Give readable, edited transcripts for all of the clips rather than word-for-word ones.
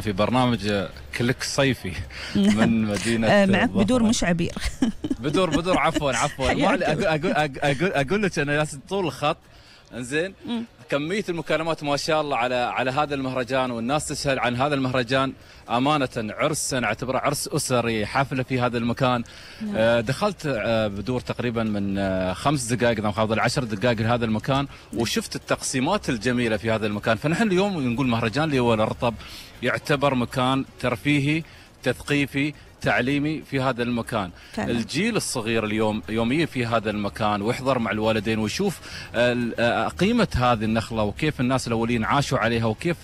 في برنامج كليك صيفي من مدينة معك بدور مش عبير. بدور عفوا اقول لك انا طول الخط انزين كمية المكالمات ما شاء الله على هذا المهرجان، والناس تسأل عن هذا المهرجان. أمانة عرس أنا أعتبره عرس أسري، حفلة في هذا المكان. دخلت بدور تقريبا من 5 دقائق أو قبل 10 دقائق لهذا المكان، وشفت التقسيمات الجميلة في هذا المكان. فنحن اليوم نقول مهرجان اللي هو الرطب يعتبر مكان ترفيهي تثقيفي تعليمي في هذا المكان فعلا. الجيل الصغير اليوم يوميا في هذا المكان ويحضر مع الوالدين ويشوف قيمة هذه النخلة وكيف الناس الأولين عاشوا عليها وكيف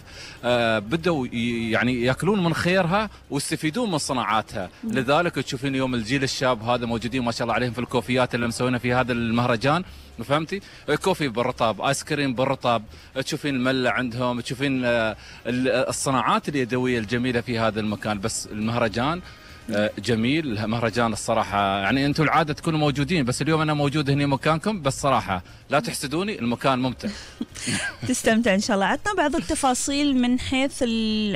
بدأوا يعني يأكلون من خيرها ويستفيدون من صناعاتها. لذلك تشوفين اليوم الجيل الشاب هذا موجودين ما شاء الله عليهم في الكوفيات اللي مسوينها في هذا المهرجان. فهمتي؟ كوفي بالرطب، ايس كريم بالرطب، تشوفين الملة عندهم، تشوفين الصناعات اليدوية الجميلة في هذا المكان. بس المهرجان جميل، مهرجان الصراحة يعني أنتم العادة تكونوا موجودين، بس اليوم أنا موجود هنا مكانكم، بس صراحة لا تحسدوني، المكان ممتع. تستمتع إن شاء الله. عطنا بعض التفاصيل من حيث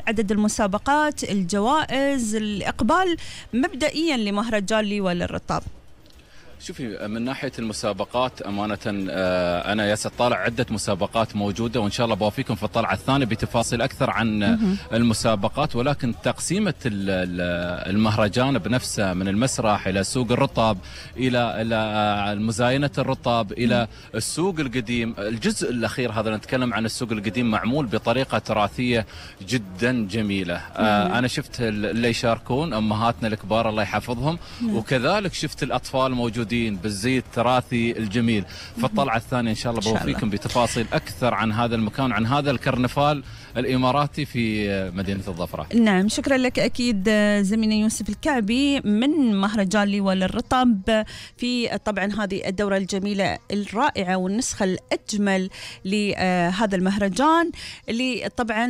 عدد المسابقات، الجوائز، الإقبال مبدئيا لمهرجان ليوى للرطاب. شوفي من ناحية المسابقات أمانة أنا طالع عدة مسابقات موجودة، وإن شاء الله بوافيكم في الطلعة الثانية بتفاصيل أكثر عن المسابقات. ولكن تقسيمة المهرجان بنفسه من المسرح إلى سوق الرطب إلى مزاينة الرطب إلى السوق القديم. الجزء الأخير هذا نتكلم عن السوق القديم معمول بطريقة تراثية جدا جميلة. أنا شفت اللي يشاركون أمهاتنا الكبار الله يحفظهم، وكذلك شفت الأطفال موجودين بالزي التراثي الجميل. فالطلعة الثانية إن شاء الله بوفيكم بتفاصيل أكثر عن هذا المكان، عن هذا الكرنفال الإماراتي في مدينة الظفرة. نعم شكرا لك أكيد زميلنا يوسف الكعبي من مهرجان ليوى للرطب في طبعا هذه الدورة الجميلة الرائعة والنسخة الأجمل لهذا المهرجان اللي طبعا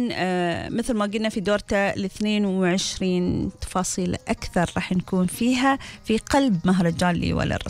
مثل ما قلنا في دورته 22 تفاصيل أكثر راح نكون فيها في قلب مهرجان ليوى للرطب.